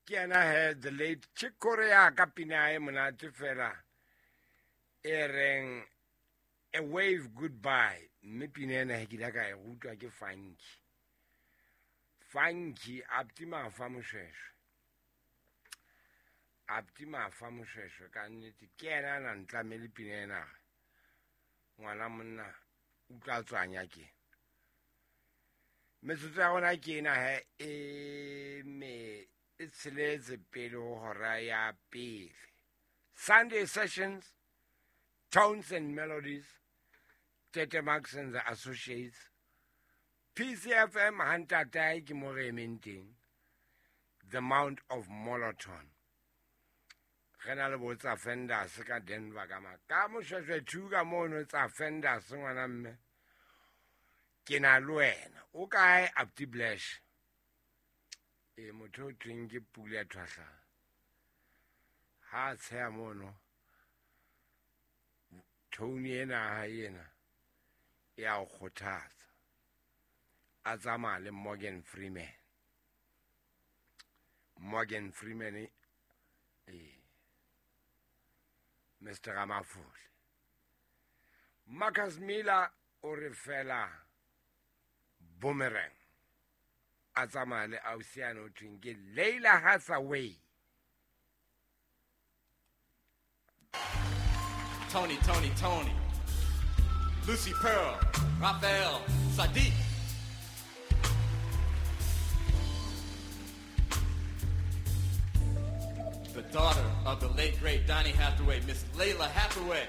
Ke yena he the late Chick Corea ka pina e monate fela e reng A Wave Goodbye. Mme pina ena he ke ile ka e rutwa ke Funky. Funky Abti Mafa Moshweshwe. Abti Mafa Moshweshwe ka nnete ke yena a na ntlamele pina ena. Ngwana monna utlwa tswanya ke. Metsotso ya rona ke ena he e me e tsheletse pele ho hora ya pele. Sunday Sessions, Tones and Melodies, Tete Max and the Associates, PCFM hantatae ke mo re emeng teng, The Mount of Moloton. Re na le bo tsa Fenders ka Denver ka ma. Ka Moshweshwe 2 ka mono tsa Fenders ngwana mme. Ke na le wena. O kae Abdi Blash? E motho o thweng ke Pule Thwahla. Ha a tsheha mono. Tony ena ha ena e a o kgothatsa. A tsamaya le Morgan Freeman. Morgan Freeman Mr. Ramafole. Marcus Miller o re fela Boomerang. A tsamaya le ausiana o thweng ke Leila Hathaway. Tony, Tony, Tony. Lucy Pearl, Raphael, Sadiq. The daughter of the late, great Donny Hathaway, Miss Lalah Hathaway.